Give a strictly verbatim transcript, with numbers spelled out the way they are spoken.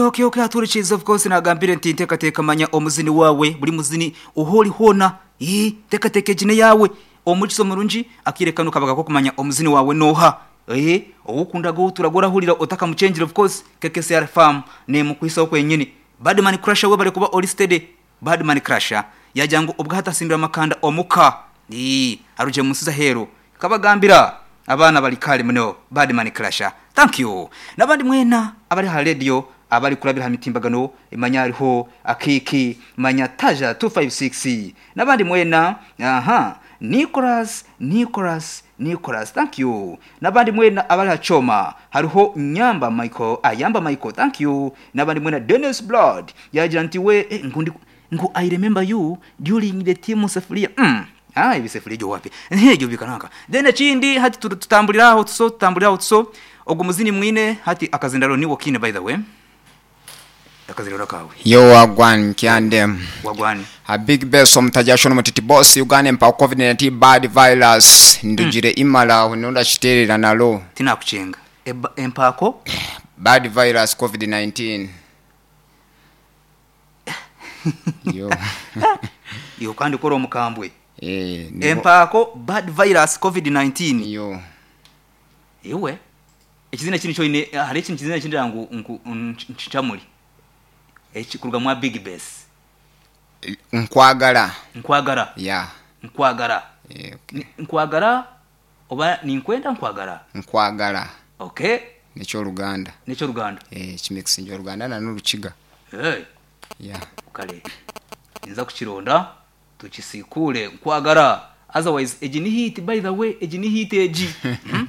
Okay, okay, aturikiza. Of course, nagambire nti nteekateeka manya omuzini wawe, buri muzini ohori hoona. Ii, teekateeka egine yawe omukisa omurungi akirekano kabaga ko kumanya omuzini wawe noha eh owukundaga oturagora hurira otakamuchenjira. Of course, K K C R Farm nemukwisa kwenyini. Badman Crusher, we bari kuba oli steady. Badman Crusher yagira ngo ubwo hatasimbira amakanda omuka ii aruje musiza hero kabagambira abana bali kale muno. Badman Crusher, thank you. Nabandi mwena abari ha radio, abari kurabira ha mitimbagano, imanya hariho akiki manya taja two five six, nabandi mwena. Aha, Nicholas, Nicholas, Nicholas, thank you. Nabandi mwena abari hachoma, hariho Nyamba Michael, Ayamba Michael, thank you. Nabandi mwena, Dennis Blood yagira nti we eh, ngundi ngu "I remember you during the team sefuria." mm. Ah, ibi sefuria jo wapi nhejo bikanaka. Then ekindi hati tu- tutambuliraho tuso tutambuliraho tuso ogwo muzini mwine hati akazindalo niwo kine. By the way, akazindalo kawe. Yo, wagwan kyandem? Wagwani. A Big Bess omutajasho nomutiti boss Uganda empa COVID nineteen bad virus ndugire imala hunonda kiterera nalo. Tinakuchenga. Eba- empako Bad virus COVID nineteen yo. Yo, kandi kora omukambwe. Eh, nibo- Empako bad virus COVID nineteen. Yo. Iwe ekizina kini kyoine hari ekintu kizina kindira ngu ngu nchamuli ekikuruga mwa Big Bess. Nkwagala. Nkwagara. Ya. Nkwagara. Eh, okay. Ni- nkwagara oba ninkwenda nkwagara? Nkwagala. Okay. Nekyoluganda. Nekyoluganda. Eh, kimixinja oluganda nanolukiga. Hey. Ya. Kale nza kukironda tukisikule nkwagara. Otherwise egi ni hit, by the way, egi ni hit egi. Hmm?